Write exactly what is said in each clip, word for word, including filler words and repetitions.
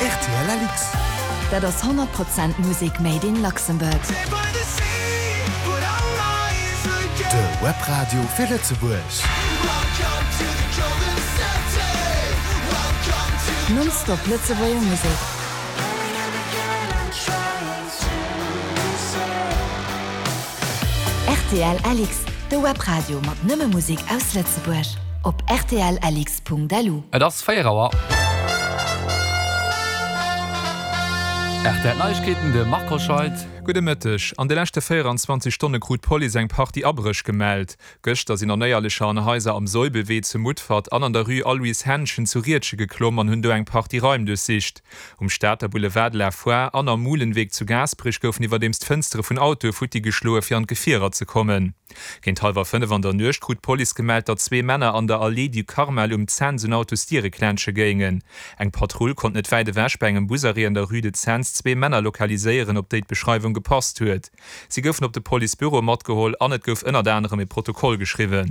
R T L L X. Dat ass honnert Prozent Musek made in Luxembourg. De Webradio fir Lëtzebuerg. Nonstop Lëtzebuerger Musek. R T L L X, de Webradio mat nëmme Musek aus Lëtzebuerg. Op R T L L X punkt L U. Et ass véier Auer. R T L Neiegkeeten, de Marc Hoscheid. Gudde Mëtteg. An de leschte véieranzwanzeg Stonne krut d'Police eng Partie Abréch gemellt. Gëschter sinn Onéierlecher an Haiser am Soibelwee zu Mutfert an an der Rue Aloyse Henschen zu Riedgen geklomm an hunn do eng Partie Raim duerchsicht. Um Stater Boulevard de la Foire an am Mulenweg zu Gaasperech goufen iwwerdeems d'Fënstere vun Autoe futti geschloe fir an d'Gefierer ze kommen. Géint hallwer fënnef an der Nuecht krut d'Police gemellt, datt zwee Männer an der Allée du Carmel um Cents un Autosdiere klensche géingen. Eng Patrull konnt net wäit ewech bei engem Busarrêt an der Rue de Cents zwee Männer lokaliséieren, op déi d'Beschreiwung gepasst huet. Si goufen op de Policebüro matgeholl an et gouf ënnert anerem e Protokoll geschriwwen.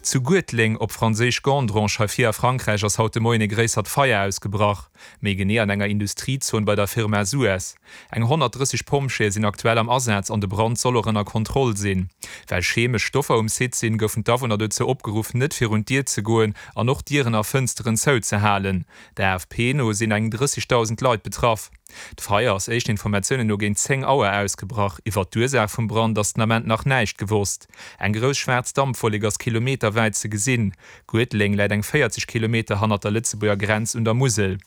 Zu Guetleng, op Franséisch Gandrange, hei vir a Frankräich ass haut de Moien e gréissert Feier ausgebrach. Méi genee an enger Industriezon bei der Firma Suez. Eng honnertdrësseg Pompjeeë sinn aktuell am Asaz an de Brand soll och ënner Kontroll sinn. Well chemesch Stoffer um Site sinn, goufen d'Awunner dozou opgeruff, net virun d'Dier ze goen an och Dieren a Fënsteren zouzehalen. Der A F P no sinn eng drëssegdausend Leit betraff. D'Feier ass éischten Informatiounen no géint zéng Auer ausgebrach. Iwwert d'Ursaach vum Brand ass den Ament nach näischt gewosst. Eng grouss schwaarz Dampwollek ass kilometerwäit ze gesinn. Guedeleng läit eng véierzeg Kilometer hannert der Lëtzebuerger Grenz un der Musel.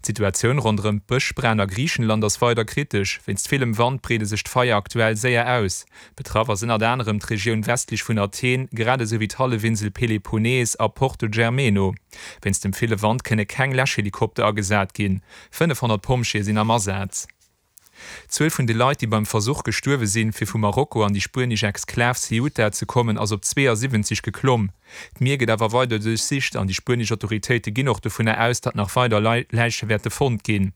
D'Situatioun ronderëm d'Bëschbränn a Griichenland ass weider kritesch. Wéinst villem Wand breede sech d'Feier aktuell séier aus. Betraff ass ënnert anerem d'Regioun westlech vun Athen, grad esou wéi d'Hallefinsel Peloponnes a Porto Germeno. Wéinst dem ville Wand kënne keng Läschhelikopter agesat ginn. fënnefhonnert Pompjeeë sinn am Asaz. D'Zuel vun de Leit, déi beim Versuch gestuerwe sinn, fir vu Marokko an déi spuenesch Exklav Ceuta ze kommen, ass op zweeasiwwenzeg geklomm. D'Mier gëtt awer weider duerchsicht an déi spuenesch Autoritéite ginn och dovunner aus, datt nach weider Läiche wäerte fonnt ginn.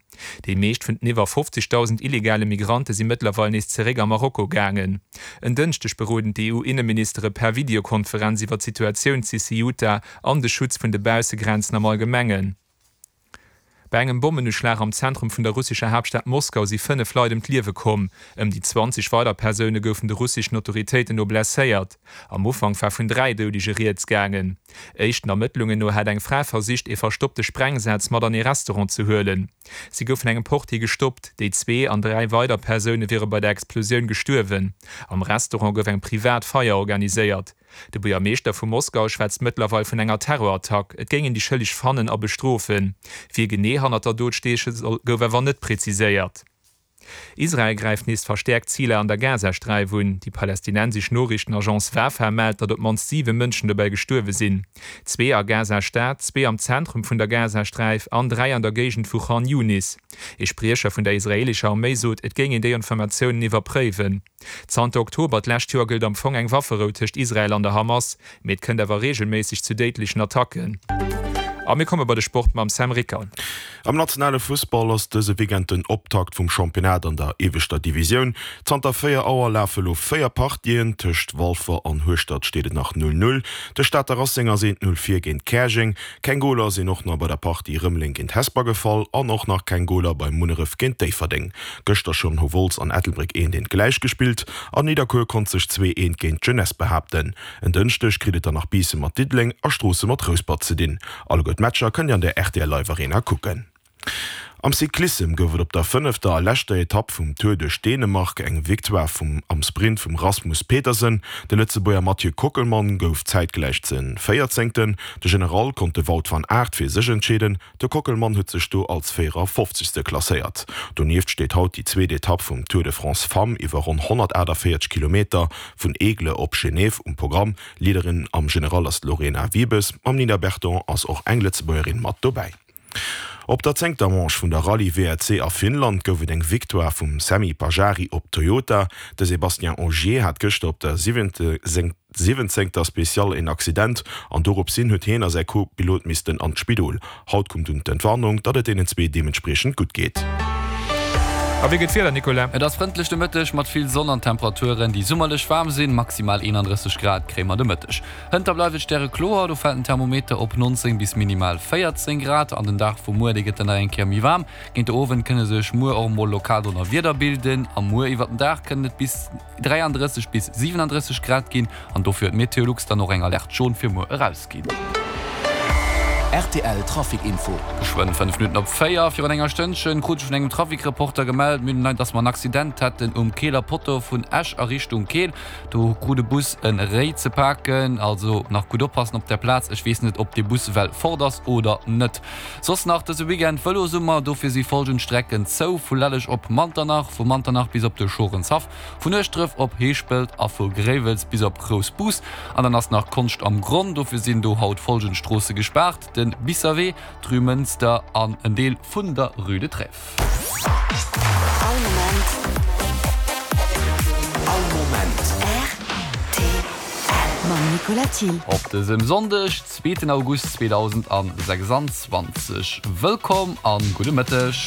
Déi meescht vun den iwwer fofzegdausend illegale Migrante si mëttlerweil nees zeréck a Marokko gaangen. En Dënschdeg beroden d'E U-Inneministere per Videokonferenz iwwer d'Situatioun zu Ceuta an de Schutz vun de Baussegrenzen am Allgemengen. Bei engem Bommenuschlag am Zentrum vun der russescher Haaptstad Moskau si fënnef Leit ëm d'Liewe komm. Ëm déi zwanzeg weider Persoune goufen de russeschen Autoritéiten no blesséiert. Am Ufank war vun dräi Doudege rieds gaangen. Éischten Ermëttlungen no hat eng Fra versicht, ee verstoppte Sprengsaz mat an ee Restaurant ze huelen. Si gouf vun engem Portier gestoppt. Déi zwee an dräi weider Persoune wiere bei der Explosioun gestuerwen. Am Restaurant gouf eng privat Feier organiséiert. De Buergermeeschter vu Moskau schwätzt mëttlerweil vun enger Terrorattack. Et géing een déi Schëlleg fannen a bestrofen. Wie genee hannert der Dot steeche soll, gouf awer net präziséiert. Israel gräift nees verstäerkt Ziler an der Gazasträif un. Déi palästinensesch Noriichtenagence Wafa mellt, datt op d'mannst siwe Mënschen dobäi gestuerwe sinn. Zwee a Gaza-Stad, zwee am Zentrum vun der Gazasträif an dräi an der Géigend vu Khan Younis. Ee Spriecher vun der israeelescher Arméi sot, et géing een déi Informatiounen iwwerpréiwen. Zanter Oktober d'lescht Joer gëllt am Fong eng Wafferou tëscht Israel an der Hamas, mee et kënnt awer reegelméisseg zu déidlechen Attacken. A mir komme bei de Sport mam Sam Ricker. Am nationale Fussball ass dëse Weekend den Optakt vum Championnat an der ieweschter Divisioun. Zanter véier Auer lafe lo véier Partien. Tëscht Walfer an Hueschtert steet et nach null null. De Stater Racing ass eent null vir géint Käerjeng. Keng Goler sinn och nach bei der Partie Rëmeleng géint Hesper gefall an och nach keng Goler bei Munneref géint Déifferdeng. Gëschter schonn hu Wolz an Ettelbréck eent eent gläich gespillt an Nidderkuer konnt sech zwee eent géint d'Jeunesse behaapten. En Dënschdeg kritt et dann nach Biissen mat Diddeleng a Stroossen mat Rouspert ze dinn. Alleguer d'Matcher kënnt Dir an der R T L Live Arena kucken. Am Cyclissem gouf et op der fënnefter a leschter Etapp vum Tour duerch Dänemark eng Victoire vum am Sprint vum Rasmus Petersen. De Lëtzebuerger Mathieu Kockelmann gouf zäitgläich ze Véierzéngten. De General konnt de Wout van Aert fir sech entscheeden. De Kockelmann huet sech do als Véierafofzegste klasséiert. Donieft steet haut déi zweet Etapp vum Tour de France Femmes iwwer ronn honnertaachtavéierzeg Kilometer vun Aigle op Genève um Programm. Leaderin am General ass d'Lorena Wiebes. Mam Nina Berton ass och eng Lëtzebuergerin mat dobäi. Op der zéngter Manche vun der Rallye W R C a Finnland gouf et eng Victoire vum Sami Pajari op Toyota. De Sébastien Ogier hat gëschter op der siwwenzéngter Speciale een Accident an doropshin huet hien a säi Co-Pilot missten an d'Spidol. Haut koum dunn d'Entwarnung, datt et deenen zwee deementspriechend gutt geet. A wéi gëtt d'Wieder, Nicolas? Et ass frëndlech de Mëtteg mat vill Sonn an Temperaturen, déi summerlech waarm sinn. Maximal eenandrësseg Grad kréie mer de Mëtteg. Hënter bleift et stärekloer, do fält den Thermometer op nonzéng bis minimal véierzéng Grad. An den Dag vu muer, dee gëtt dann nach eng Kéier méi waarm. Géint de Owend kënne sech muer och emol lokal Donnerwieder bilden a muer iwwert den Dag kënnen et bis dräiandrësseg bis siwenandrësseg Grad ginn an dofir huet Meteolux dann och eng Alerte jaune fir muer erausginn. Rtl Trafic Info. Geschwënn fënnef Minutten op véier. Virun enger Stënnchen krut ech vun engem Trafic-Reporter gemellt, mir hunn dass mer en Accident hätten um Keeler Potto vun Esch a Richtung Keel. Do krut e Bus e Réi ze paken. Also nach gutt oppassen op der Plaz. Ech weess net, ob dee Bus well fort ass oder net. Soss nach dëse Weekend Vëlosummer, dofir si folgend Strecken zou, vu Lelleg op Manternach, vu Manternach bis op de Schorenshaff, vun Ueschdref op Heeschpelt a vu Gréiwels bis op Groussbus. An dann ass nach Konscht am Gronn, dofir sinn do haut folgend Stroosse gespaart, de Bisserwee, d'Rue Mënster an en Deel vun der Rue de Trèves. All Moment. All Moment. Rtl mam Nicolas Thill. Op dësem Sonndeg, zweeten August zweedausendsechsanzwanzeg. Wëllkomm an gudde Mëtteg.